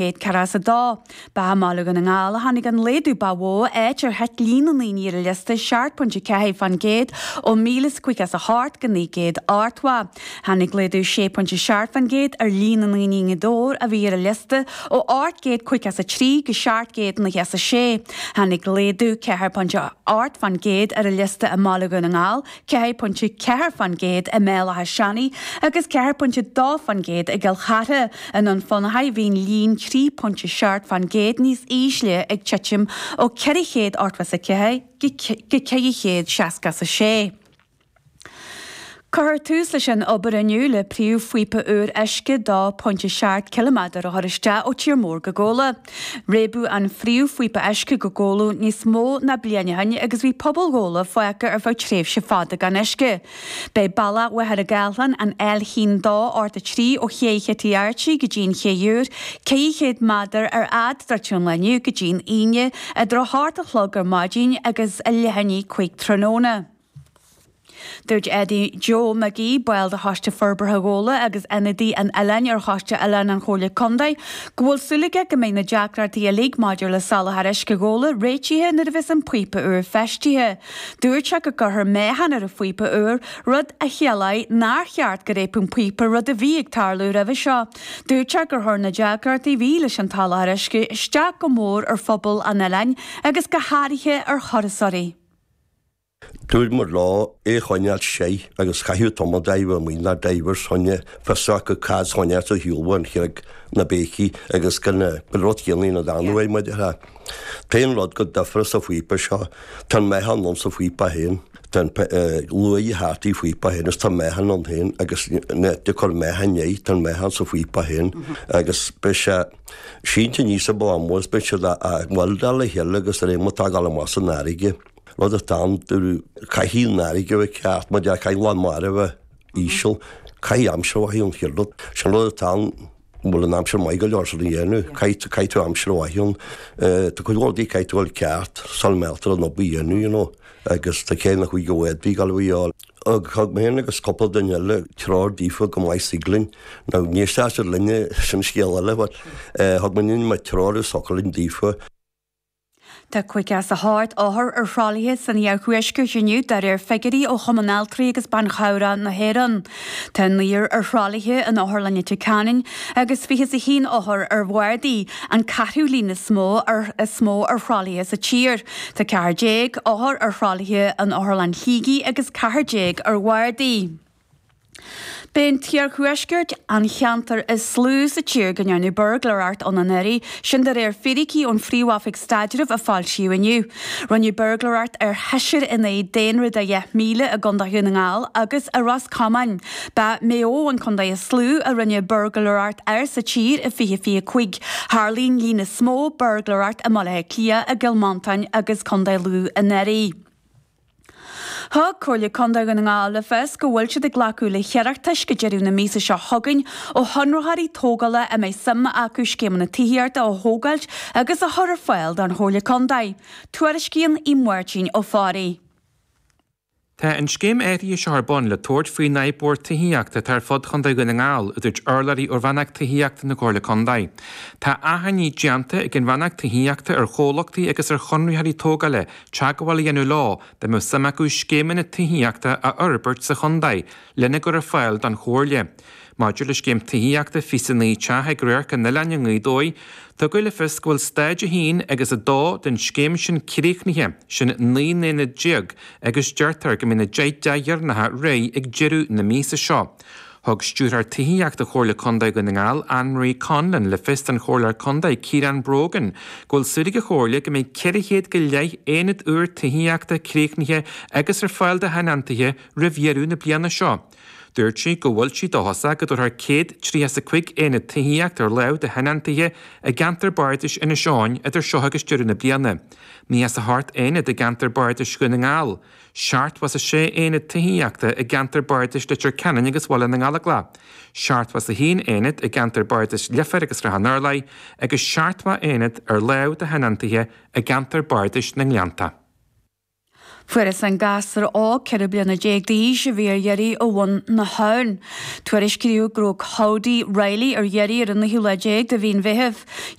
142. Ba i mBaile Dhún na nGall a tháinig an laghdú ba mhó, áit ar thit líon na ndaoine ar an liosta 7.4% ó 1,058 go 980. Tháinig laghdú 6.7% ar líon na ndaoine i nGaoth Dobhair a bhí ar an liosta ó 853 go 796. Tháinig laghdú 4.8% ar an liosta i mBaile Dhún na nGall, 4.4% i mBéal Átha Seanaidh agus 4.2% i gCill Chartha. I nDún Fionnachaidh bhí an líon 3.7% níos ísle ag titim ó 484 go 466. Cuirfear tús leis an obair inniu le príomhphíopa úr uisce 2.7 ciliméadar a chur isteach ó Tír Mór go Gabhla. Réabadh an phríomhphíopa uisce go Gabhla níos mó ná bliain ó shin agus bhí pobal Ghabhla fágtha ar feadh tréimhse fada gan uisce. Beidh bealach Mhachaire Gathlán, an L1 2 83 ó Ché Chití Archie go dtí an Ché Úr, 400 méadar ar fhad druidte ón lá inniu go dtí an Aoine idir 8 a chlog ar maidin agus a leath i ndiaidh 5 tráthnóna. Dúirt Eddie Joe McGee, ball de Choiste Forbartha Ghabhla agus ionadaí an oileáin ar Choiste Oileáin an Chomhairle Contae, go bhfuil súil aige go mbeidh na deacrachtaí uilig maidir le soláthar uisce Ghabhla réitithe nuair a bheas an píopa úr feistithe. Dúirt sé go gcuirfear meáchan ar an phíopa úr, rud a chiallóidh nár cheart go réabfadh an píopa, rud a bhí ag tarlú roimhe seo. Dúirt sé gur chuir na deacrachtaí a bhí leis an tsoláthar uisce isteach go mór ar phobal an oileáin agus go háirithe ar thurasóirí. Dúirt muid leo é a choinneáil séith agus chaitheadh tumadóir amuigh ná divers choinne fios acu cad choinneáil sa shiúl an chreag na béicí agus gan an rud céanna ina dteannadh air maidir le T-aon rud go difear sa phíopa seo tá an meáchan ann sa phíopa féin tá an luaidhe thart i phíopa féin agus tá meáchan ann féin agus de cur meáchan air tá an meáchan sa phíopa féin agus beidh sé sínte aníos i bplámás beidh siad á weldáil le chéile agus ar aon mo tá ag dul amach san fharraige. Rud atá ann, dúradh, caithfidh an fharraige a bheith ceart, mar deir, caithfidh lán mara a bheith íseal, caithfidh aimsir mhaith an chéad rud. Sin rud atá ann, an bhfuil an aimsir maith go leor san a dhéanamh, caithfidh, caithfidh tú aimsir mhaith ann. Tá cuid mhór rudaí caithfidh tú a fháil ceart sula mbealtar an obair a dhéanamh, you know, agus tá cé nach bhfuil go bhféadfaí dul a fháil. Thug mé féin agus cúpla duine eile treoir daofa go maith istigh linn. Now, ní éistfeadh siad linne, sin scéal eile, but thug muidinne treoir is focal linn daofa. Tá 58 othar ar thralaithe san iarthuaisceart inniu, de réir figiúirí ó Chumann Altraí agus Ban Chabhrach na hÉireann. Tá naonúr ar thralaithe in Otharlann Leitir Ceanainn agus 21 othar ar bhardaí, an ceathrú líon is mó ar is mó ar thralaithe sa tír. Tá 14 othar ar thralaithe in Otharlann Shligigh agus 14 ar bhardaí. B'é an t-iarthuaisceart an cheantar is lú sa tír go ndearnadh buirgléireacht ann anuraidh, sin de réir fíricí ón Phríomh-Oifig Staidrimh a foilsíodh inniu. Rinneadh buirgléireacht ar sheisear in aghaidh daonra de 10,000 i gContae Dhún na nGall agus i Ros Comáin. Ba Maigh Eo an contae is lú a rinneadh buirgléireacht air sa tír i 2025. Tharla an líon is mó buirgléireacht i mBaile Átha Cliath, i gCill Mhantáin agus Contae Lú anuraidh. Thug Comhairle Contae Dhún na nGall le fios go bhfuil siad ag glacadh le hiarratais go deireadh na míosa seo chugainn ó chonraitheoirí tógála a mbeidh suim acu scéimeanna tithíochta a thógáilt agus a chur ar fáil don Chomhairle Contae. Tuairiscíonn Máirtín Ó Fearraigh. Tá an scéim áirithe seo ar bun le tabhairt faoin fhadhb mhór tithíochta atá ar fud Chontae Dhún na nGall, a dúirt urlabhraí ó Rannóg Tithíochta na Comhairle Contae. Tá achainí déanta ag an Rannóg Tithíochta ar chomhlachtaí agus ar chonraitheoirí tógála teagmháil a dhéanamh leo dá mbeadh suim acu scéimeanna tithíochta a fhorbairt sa chontae lena gcur ar fáil don Chomhairle. Maidir le scéim tithíochta 29 teach ag Radharc an Oileáin i nGaoth Dobhair, tugadh le fios go bhfuil stáid 1 agus 2 den scéim sin críochnaithe, sin 19 n-aonad, agus deirtear go mbeidh na 10 dteach dheireanacha réidh ag deireadh na míosa seo. Thug Stiúrthóir Tithíochta Chomhairle Contae Dhún na nGall, Anne Marie Conlon, le fios don Chomhairleoir Contae, Ciarán Brogan, go bhfuil súil ag an Chomhairle go mbeidh 400 go leith aonad úr tithíochta críochnaithe agus ar fáil do thionóntaithe roimh dheireadh na bliana seo. Dúirt sí go bhfuil sí dóchasach go dtabharfar 135 aonad tithíochta ar láimh do thionóntaithe i gceantar bardais Inis Eoghain idir seo agus deireadh na bliana. 98 aonad i gceantar bardais Dhún na nGall. 76 aonad tithíochta i gceantar bardais Leitir Ceanainn agus Bhaile na nGallóglach, 71 aonad i gceantar bardais Leifear agus Srath an Urláir agus 70 aonad ar láimh do thionóntaithe i gceantar bardais na nGleannta. Fuarthas an gasúr óg, 14 bliana d'aois, a bhí ar iarraidh ó bhun na habhann. Tuairiscíodh go raibh Cody Reilly ar iarraidh ar an naoú lá déag de mhí an Mheithimh.